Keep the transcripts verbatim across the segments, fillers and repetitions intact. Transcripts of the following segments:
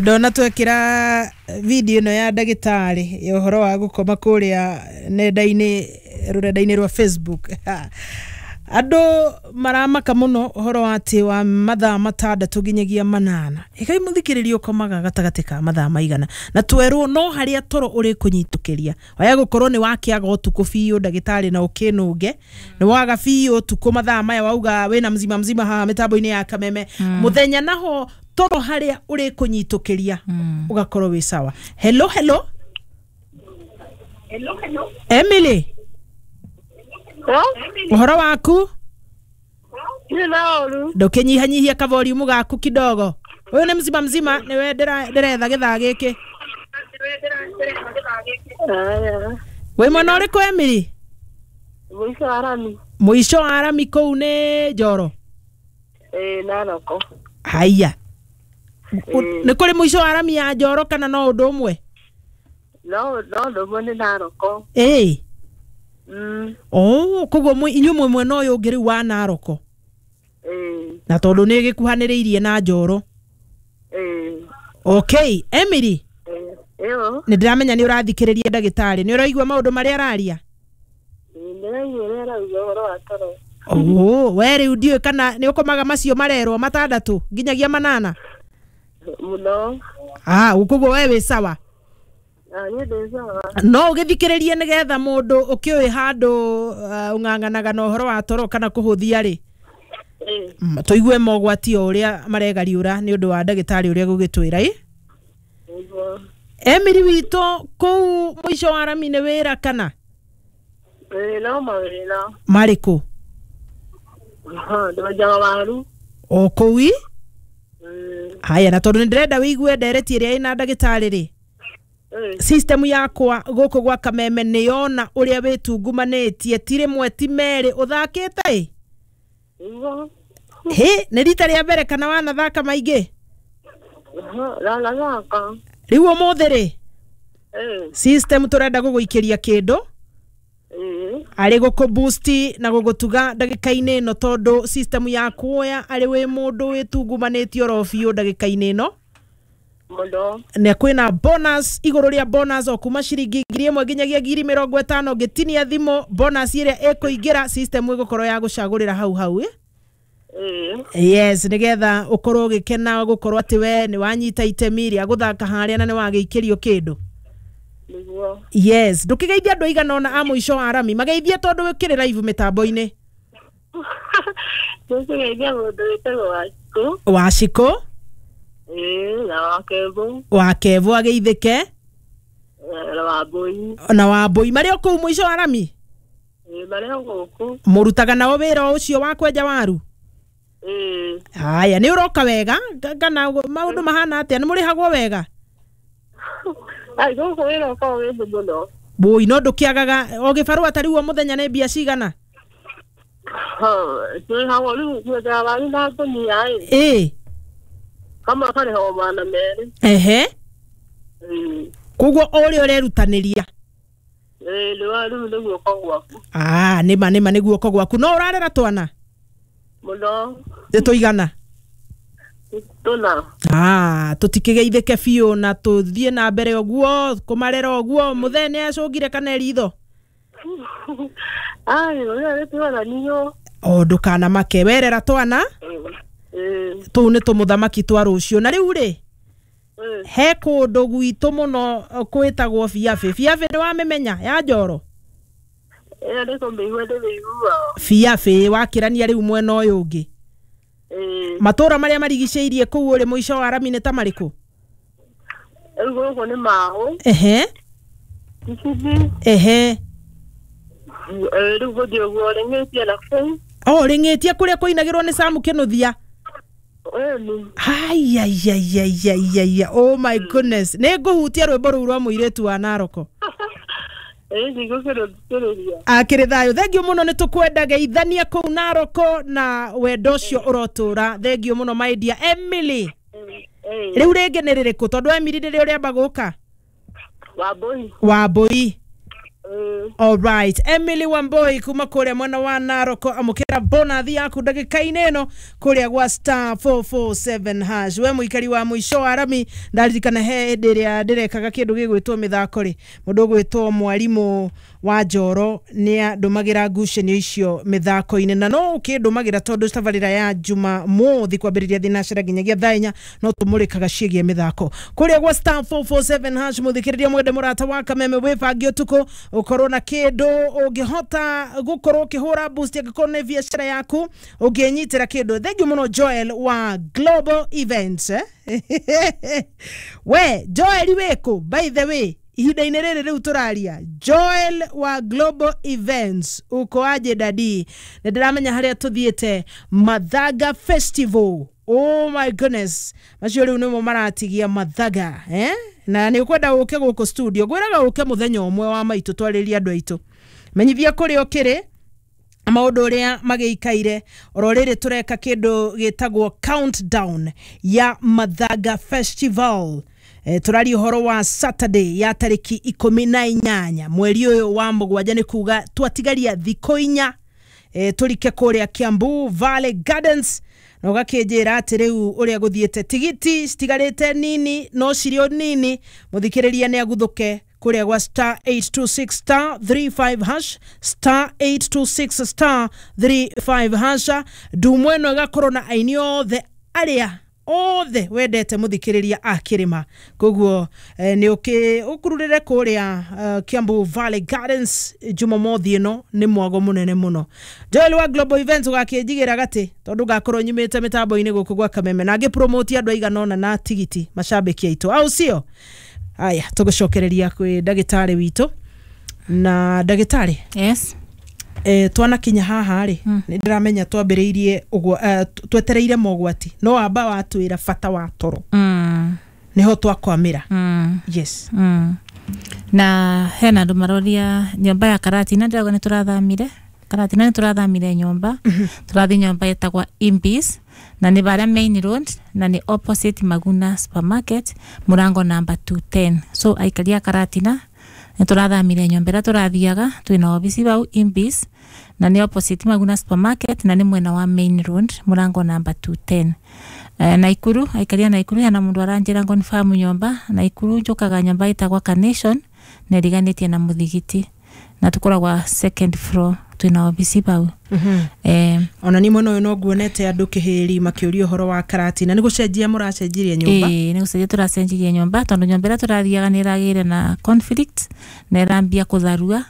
Ndona twekĩra video ĩno ya ndagĩtarĩ ya ũhoro wa gũkoma kũrĩa nenda-inĩ, rũrenda-inĩ rwa Facebook, andũ maramaka mũno ũhoro wa atĩ wa mathaa matandatũ nginyagia manana. Ĩkai mũthikĩrĩria, ũkomaga gatagatĩ ka mathaa maigana? Na twerwo no harĩa toro ũrĩ kũnyitũkĩria waya gũkorwo nĩ wakĩaga ũtukũ biũ, ndagĩtarĩ, na ũkĩnũnge nĩ waga biũ ũtukũ mathaa maya wauga wĩna mzima mzima haha mĩtambo-inĩ ya Kameme mũthenya, naho toro harĩa ũrĩ kũnyitũkĩria ũgakorwo wĩ sawa. Hello, hello, Emily. Ũhoro waku? Nĩ na ũru. Ndũkĩnyihanyihia kavolumu gaku kidogo. Ũyũ nĩ mzima mzima, nĩwe ndĩra- ndĩretha gĩthaa gĩkĩ. Aya. Wĩ mwena ũrĩkũ, Emily? Mũico wa rami. Mũico wa rami kũu nĩ Njoro? Ĩĩ, Naroko. Haiya. Ĩĩ. Nĩ kũrĩ mũico wa rami ya Njoro kana no ũndũ ũmwe? No no ũndũ ũmwe, nĩ Naroko. Ĩĩ. Mm. Oh, koguo mwe- inyuĩ mwĩ mwena ũyũ ũngĩ rĩu wa Naroko? Ĩĩ. Na tondũ nĩ gĩkuhanĩrĩirie na Njoro. Ĩĩ. Okay, Emily. Ĩĩ. Ĩyo. Nĩ ndĩramenya nĩ ũrathikĩrĩria ndagĩtarĩ, nĩ ũraigua maũndũ marĩa araria? Ĩĩ, ndĩraigua ũrĩa arauga ũhoro wa toro. Oh, we rĩu ndiũĩ kana nĩ ũkomaga macio marerwo matandatũ nginyagia manana? Mũno. Ah, koguo we wĩ sawa? Ah, niĩ ndĩ sawa. No ũgĩthikĩrĩrie nĩgetha mũndũ ũkĩũĩ handũ uh, ũng'ang'anaga na ũhoro wa toro kana kũhũthia rĩ. Ĩĩ. Mm, tũigue mogwati o ũrĩa maregariũra nĩ ũndũ wa ndagĩtarĩ ũrĩa gũgĩtwĩra ĩ. Nĩguo. Emily witũ, kũu mũico wa rami nĩ wĩra kana? Ĩĩ, no mawĩra. Marĩkũ? Ndwenjaga waru. O kũu i? Ĩĩ. Haya, na tondũ nĩ ndĩrenda wĩigue ndereti ĩrĩa ĩna ndagĩtarĩ rĩ, Ĩĩ. system yakwa gũkũ gwa Kameme nĩ yona ũrĩa wĩtungumanĩtie, ti rĩmwe ti merĩ ũthakĩte ĩ. Nĩguo. Hĩ, nĩ rita rĩa mbere kana wanathaka maingĩ? Ndanathaka. Rĩu ũmũthĩ rĩ, Ĩĩ. system tũrenda gũgũikĩria kĩndũ Ĩĩ. arĩ gũkũ boost na gũgũtuga ndagĩka-inĩ ĩno, tondũ system ya kuoya arĩ wĩ mũndũ wĩtungumanĩtie oro biũ ndagĩka-inĩ ĩno. Mũno. Na kwĩna bonus igũrũ rĩa bonus o kuma ciringi ngiri ĩmwe nginyagia ngiri mĩrongo ĩtano. Ngĩtinia thimũ, bonus ĩrĩa ĩkũingĩra system ĩgũkorwo ya gũcagũrĩra hau hau ĩ. Ĩĩ. Yes, nĩgetha ũkorwo ũgĩkena gũkorwo atĩ we nĩ wanyita itemi rĩa gũthaka harĩa na nĩ wagĩikĩrio kĩndũ. Nĩguo. Yes, ndũkĩgeithia andũ aigana ũna a mũico wa rami, mageithie tondũ wĩkĩrĩ live mĩtambo-inĩ. Nĩkũgeithia mũndũ wĩtagwo Wachikũ. Wacikũ. Ĩĩ, na Wakembũ. Wa Kevo ageithĩke. Na Wambũi. Na Wambũi marĩ o kũu mũico wa rami? Ĩĩ, marĩ o gũkũ. Mũrutaga nao wĩra o ũcio wa kwenja waru? Ĩĩ. Haya, nĩ ũroka wega Ka- kana maũndũ mahana atĩa, nĩ mũrĩhagwo wega? Ai, gũkũ wĩra ũkoragwo wĩ thĩ mũno. Bũi, no ndũkĩagaga o gĩbarũa ta rĩu o mũthenya nĩ mbia cigana? Tũrĩhagwo rĩu kwenjaga waru na ngũnia ĩ. Ĩ. Kamwe karĩhagwo magana merĩ. Ehe. Ĩĩ. Koguo o ũrĩa ũrerutanĩria. Ĩĩ, nĩ wa rĩu nĩ guoko gwaku. Ah, nĩma nĩma nĩ guoko gwaku. No ũrarera twana? Mũno. Nĩ tũigana? Tũna. Ah, tũtikĩgeithĩke biũ na tũthiĩ na mbere ũguo kũmarera ũguo. Mũthee nĩ acũngire kana ritho? Ai, ũrĩa nĩ O ndũkanamake, werera twana. Ĩĩ. Tũu nĩ tũmũthamaki twa rũciũ. Na rĩu rĩ, Ĩĩ. he kũndũ gwitũ mũno kwĩtagwo Biabĩ. Biabĩ nĩ wamĩmenya ya Njoro? Ĩyo nĩ kũmĩigua ndĩmĩiguaga. Biabĩ wakĩrania rĩu mwena ũyũ ũngĩ. Ĩĩ. Matũra marĩa marigicĩirie kũu ũrĩ mũico wa rami nĩ ta marĩkũ? Rĩu gũkũ nĩ Maũ. Ehe. Kicithi. Ehe. Ĩĩ, rĩu gũthiĩ ũguo rĩng'ĩtie na kũu. O rĩng'ĩtie kũrĩa kũinagĩrwo nĩ Samu Kĩnũthia? Ĩni. Aiaiaiaiaia, oh my goodness, nĩ ngũhutia rwĩmbo rũu rwa mũirĩtu wa Naroko. Ĩĩ, ndigũkĩrũthikĩrĩria. Akĩrĩ thayũ, thengio mũno, nĩ tũkwenda geithania kũu Naroko na wendo ũcio ũrotũra. Thengio mũno, my dear Emily. Ĩĩ. Rĩu rĩngĩ nĩ rĩrĩkũ, tondũ Emily nĩrĩo rĩamba gũka? Wambũi. Wambũi. Alright, Emily Wamboi kuma kuria mwena wa Naroko amukira bonathi yaku ndagika-inĩ ĩno kuria gwa star four four seven hash. We mũikari wa mũico wa rami, ndaririkana he hĩndĩ ĩrĩa ndĩrekaga kĩndũ gĩgwĩtwo mĩthako rĩ, mũndũ ũgwĩtwo mwarimũ wa Njoro nĩ andũmagĩra ngucanio icio mĩthako-inĩ, na no ũkĩndũmagĩra tondũ tabarĩra ya Jumamothi kwambĩrĩria thinacara nginyagia thaa inya no tũmũrĩkaga ciĩgiĩ mĩthako kũrĩa gwa star four four seven hash. Mũthikĩrĩria mwende mũrata wa Kameme, wĩbange ũtukũ ũkorwo na kĩndũ ũngĩhota gũkorwo ũkĩhũra boost angĩkorwo nĩ biacara yaku ũngĩnyitĩra kĩndũ. Thank you mũno Joel wa Global Events, eh? We Joel wĩkũ by the way ihinda-inĩ rĩrĩ rĩu tũraria? Joel wa Global Events, uko aje dadi? Nĩ ndĩramenya harĩa tũthiĩte Mathaga Festival. Oh my goodness, macio rĩu nĩmo maratigia Mathaga, eh? Na nĩ ũkwenda ũke gũkũ studio, ngwĩraga ũke mũthenya ũmwe wa maitũ twarĩrie andũ aitũ, menyithia kũrĩa ũkĩrĩ maũndũ ũrĩa magĩikaire. Oro rĩrĩ tũreka kĩndũ gĩtagwo countdown ya Mathaga Festival. E, tũraria ũhoro wa Saturday ya tarĩki ikũmi na inyanya mweri ũyũ wa mũgwanja, nĩ kuga twatigaria thikũ inya e, tũrike kũrĩa Kiambu Valley Gardens, na ũgakĩnjĩra atĩ rĩu ũrĩa gũthiĩte tigiti citigarĩte nini no cirĩ o nini. Mũthikĩrĩria nĩ aguthũke kũrĩa gwa star eight two six star three five hash, star eight two six star three five hash. Ndumwa ĩno ĩgakorwo na aini othe arĩa othe wendete mũthikĩrĩria a kĩrĩma, koguo eh, nĩ ũkĩ ũkururĩre kũrĩa uh, Kiambu Valley Gardens Jumamothi ĩno nĩ mwago mũnene mũno. Joel wa Global Events ũgakĩnjigĩra gatĩ tondũ ngakorwo nyumĩte mĩtambo-inĩ gũkũ gwa Kameme na ngĩ promote andũ aigana ũna na tigiti macambĩki aitũ, au sio? Aya, tũgũcokereria kwĩ ndagĩtarĩ witũ. Na ndagĩtarĩ, Yes. eh, twanakinya haha rĩ, Mm. nĩ ndĩramenya twambĩrĩirie ũguo eh, twetereire mogwati, no wamba watwĩra bata wa toro, Mm. nĩho twakwamĩra. Mm. Yes. Mm. Na hena andũ maroria nyũmba ya Karatina, ndĩrauga nĩ tũrathamire Karatina, nĩ tũrathamire nyũmba, tũrathiĩ nyũmba ĩtagwa Imbis, na nĩ barĩa main road na nĩ opposite Maguna Supermarket, mũrango namba two ten. So aikari a Karatina, nĩ tũrathamire nyũmba ĩrĩa tũrathiaga, twĩna obici bau Imbis na nĩ opposite Maguna Supermarket na nĩ mwena wa main road, mũrango namba two ten. Eh, Naikuru, aikari a Naikuru, hena mũndũ aranjĩra confirm nyũmba Naikuru. Njũkaga nyũmba ĩtagwa Carnation na ĩriganĩtie na mũthigiti na tũkoragwa second floor, twĩna obici bau. Eh, ona ni mwena ũyũ no nguonete andũ kĩhĩri makĩũria ũhoro wa Karatina, nĩ gũcenjia mũracenjirie nyũmba? Ĩĩ, nĩ gũcenjia tũracenjirie nyũmba tondũ nyũmba ĩrĩa tũrathiaga nĩ ĩragĩire na conflict na ĩrambia kũtharua.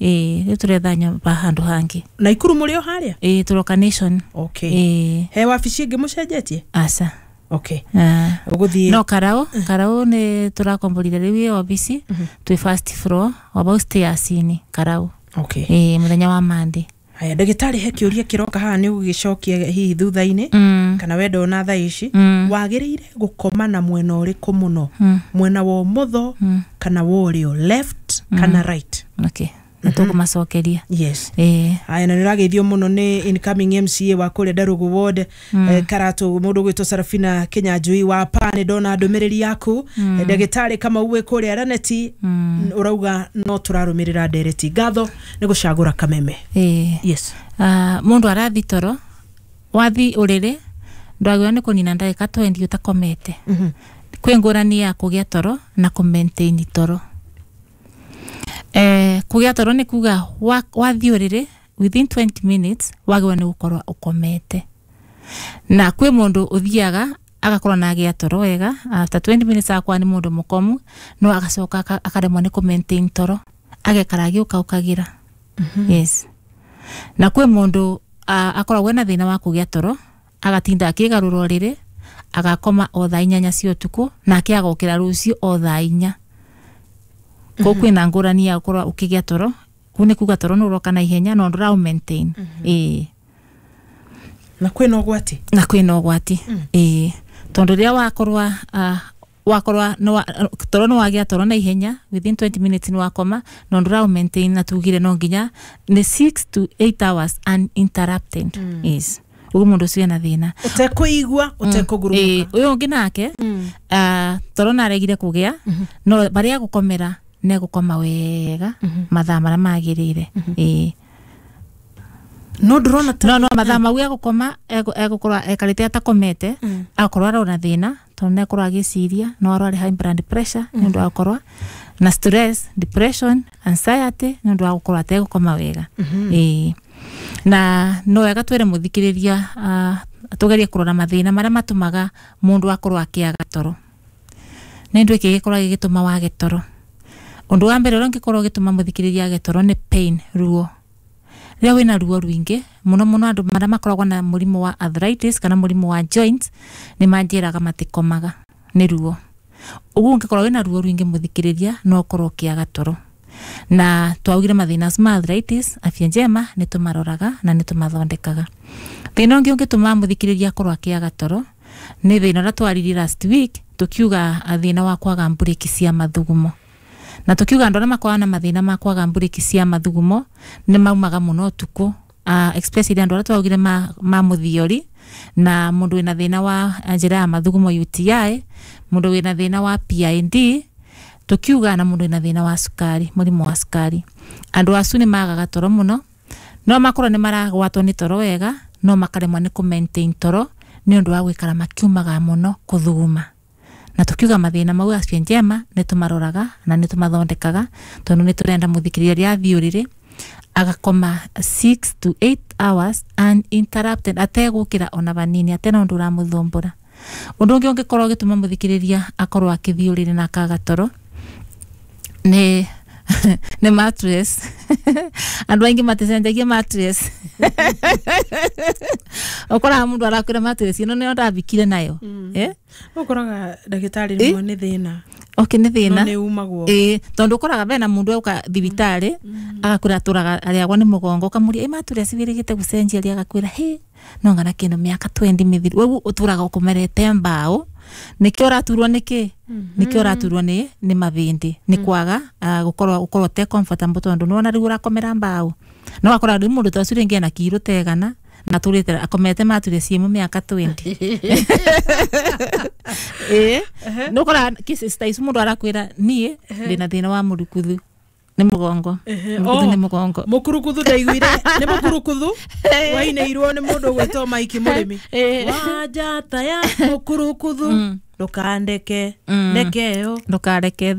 Ĩĩ, rĩu tũretha nyũmba handũ hangĩ. Naikuru mũrĩ o harĩa? Ĩĩ, tũroka Nation. Okay. Ĩĩ. He wabici ĩngĩ mũcenjetie? Aca. Okay. Ah. Ũgũthiĩ No karau karau nĩ tũrakomborire rĩu ĩ obici, twĩ first floor o stairs-inĩ Karau. Okay. Ĩĩ, mũthenya wa Monday. Haya ndagĩtarĩ, he kĩũria kĩroka haha, nĩ ũgũgĩcokia hihi thutha-inĩ Mm. kana wenda ona thaa ici. Mm. Wagĩrĩire gũkoma na mwena ũrĩkũ mũno, Mm. mwena wa ũmotho Mm. kana wa ũrĩo, left kana right? Okay, nĩ tũkũmacokeria. Yes. Ĩĩ. Aya, na nĩ ũrageithio mũno nĩ incoming M C A wa kũrĩa Ndarugu ward, mm. eh, Karatu, mũndũ ũgwĩtwo Sarafina Kinyanjui wa pa, nĩ ndona ndũmĩrĩri yaku. mm. Ndagĩtarĩ Kamau wĩ kũrĩa Raneti, mm. ũrauga no tũrarũmĩrĩra ndereti, ngatho nĩ gũcagũra Kameme. Ĩĩ. Yes. Ah, mũndũ arathi toro, wathi ũrĩrĩ ndwagĩrĩirwo nĩ kũnina ndagĩka twenty ũtakomete. mm Kwĩ ngũrani ya kũgĩa toro na kũ maintain toro. Eh, kũgĩa toro nĩ kuga wa- wathiĩ ũrĩrĩ within twenty minutes wagĩrĩirwo nĩ gũkorwo ũkomete, na kwĩ mũndũ ũthiaga agakorwo na agĩa toro wega, after twenty minutes agakorwo nĩ mũndũ mũkomu, no agacoka aka- akaremwo nĩ kũ maintain toro, agekara agĩũkaũkagĩra. Yes, na kwĩ mũndũ ah, akoragwo ena thĩna wa kũgĩa toro, agatinda akĩgarũra ũrĩrĩ, agakoma o thaa inyanya cia ũtukũ nake agokĩra rũciũ o thaa inya. Kũu kwĩna ngũrani ya gũkorwo ũkĩgĩa toro, kũu nĩ kuga toro nĩ ũroka na ihenya no ndũra maintain. Ĩĩ. Na kwĩna ũgwati? Na kwĩna ũgwati, ĩĩ, tondũ rĩrĩa wakorwa uh, wakorwa nĩ wa- toro nĩ wagĩa toro na ihenya, within twenty minutes nĩ wakoma no ndũra maintain, na tugire no nginya nĩ six to eight hours uninterrupted. mm. Yes, ũguo mũndũ ũcio ena thĩna. Ũtekũigua ũtekũgurumũka. Ĩĩ, ũyũ ũngĩ nake, ah, toro naregire kũgĩa no barĩa gũkomera. negũkoma wega mathaa marĩa magĩrĩire. Ĩĩ. No ndũrona ta No no mathaa mau egũkoma egũkorwo ekarĩte atakomete, akorwo arona thĩna tondũ nĩakorwo agĩciria no arware high blood pressure nĩ ũndũ wa gũkorwo na stress, depression, anxiety nĩ ũndũ wa gũkorwo ategũkoma wega. Ĩĩ. Na no wega twĩre mũthikĩrĩria uh, tũgerie kũrora mathĩna marĩa matũmaga mũndũ akorwo akĩaga toro. Nĩ ũndũ ĩkĩ gĩkorwo gĩgĩtũma wage toro? Ũndũ wa mbere ũrĩa ũngĩkorwo ũgĩtũma mũthikĩrĩria age toro nĩ pain, ruo. Rĩrĩa wĩna ruo rũingĩ mũno mũno, andũ marĩa makoragwo na mũrimũ wa arthritis kana mũrimũ wa joints nĩ manjĩraga matikomaga nĩ ruo. Ũguo ũngĩkorwo wĩna ruo rũingĩ, mũthikĩrĩria, no ũkorwo ũkĩaga toro. Na twaugire mathĩna ma arthritis, Afya Njema nĩ tũmaroraga na nĩ tũmathondekaga. Thĩna ũngĩ ũngĩtũma mũthikĩrĩria akorwo akĩaga toro nĩ thĩna ũrĩa twaririe last week, tukiuga thĩna wa kwaga mburĩki cia mathugumo, na tukiuga andũ arĩa makoragwo na mathĩna ma kwaga mburĩki cia mathugumo nĩ maumaga mũno ũtukũ, uh, especially andũ arĩa twaugire ma, ma mũthiori na mũndũ wĩna thĩna wa njĩra ya mathugumo U T I, mũndũ wĩna thĩna wa P I D, tukiuga na mũndũ wĩna thĩna wa cukari, mũrimũ wa cukari. Andũ acu nĩ magaga toro mũno. No makorwo nĩ maragwatwo nĩ toro wega, no makaremwo nĩ kũ maintain toro nĩ ũndũ wa gũikara makiumaga mũno kũthuguma. Na tukiuga mathĩna mau Afya Njema nĩ tũmaroraga na nĩ tũmathondekaga, tondũ nĩ tũrenda mũthikĩrĩria rĩa athiĩ ũrĩrĩ agakoma six to eight hours uninterrupted, ategũkĩra ona vanini, atena ũndũ ũramũthumbũra. Ũndũ ũngĩ ũngĩkorwo ũgĩtũma mũthikĩrĩria akorwo akĩthiĩ ũrĩrĩ na akaga toro nĩ nĩ mattress. Andũ aingĩ maticenjagia mattress. Ũkoraga mũndũ arakwĩra mattress ĩno nĩyo ndambikire nayo, eh? Ũkoraga ndagĩtarĩ rĩmwe nĩ thĩna. Okay, nĩ no thĩna. Nĩ umagwo. Ĩĩ, tondũ ũkoraga bena mũndũ auka thibitarĩ agakwĩra atũraga arĩagwo nĩ mũgongo, ũkamũria ĩ mattress wĩrĩgĩte gũcenjia rĩ, agakwĩra hĩ no ngana kĩndũ mĩaka mĩrongo ĩrĩ mĩthiru. Rĩu ũtũraga ũkomerete mbaũ, nĩkĩo ũraturwo nĩkĩ nĩkĩo ũraturwo nĩ nĩ mabĩndĩ nĩ kwaga ah, gũkorwo gũkorwo te comfortable, tondũ nĩwona rĩu ũrakomera mbaũ no wakora rĩu mũndũ ta ũcio rĩngĩ ena kiro tegana na tũrĩte akomete mattress ĩmwe mĩaka mĩrongo ĩrĩ. Ĩĩ, nĩ ũkoraga cases ta ici mũndũ arakwĩra niĩ ndĩna thĩna wa mũrukuthu nĩ mũgongo. Ehe, Mũrukuthu oh. nĩ mũgongo. Mũkurukuthu, ndaiguire nĩ mũkurukuthu wainĩirwo nĩ mũndũ ũgwĩtwo Maiki Mũrĩmi. Ĩĩ. Wa njata ya mũkurukuthu ndũkandeke ndekeo. Ndũkareke.